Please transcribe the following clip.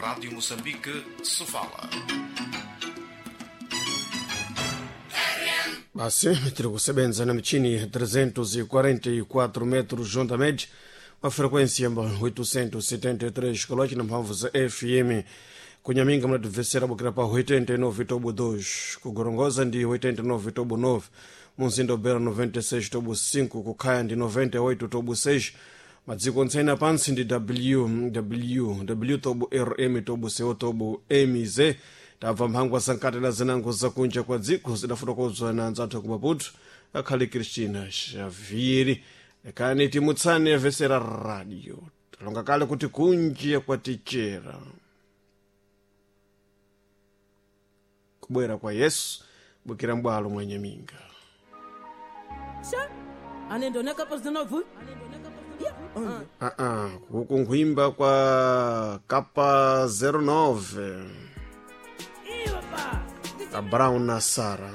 Rádio Moçambique, Sofala. Basi tiri kusebenza na michini 344 metros juntamente uma frequência 873 km na mphamvu za FM. Kunyaminga mnatibvesera bukira pa 89 tobo 2, kugorongoza ndi 89 tobo 9, munzinda ubera 96 tobo 5, kukhaya ndi 98 tobo 6. Madziko ontsene pansi ndi www tobo rm tobo co tobo mz. Tabva mphangwa sankatela zinango zakunja kwa dziko zidafotokozwa na anzathu ku Maputo akhali Cristina Xavieri. Lekani timutsane vesera radio, talonga kale kuti kunja kwatichera kubwera kwa Yesu bukira mbwalo mwanyaminga. Sha, anendoneka pasinovu. Aa, kuku nkhwimba kwa kapa 09 a Brown na Sara.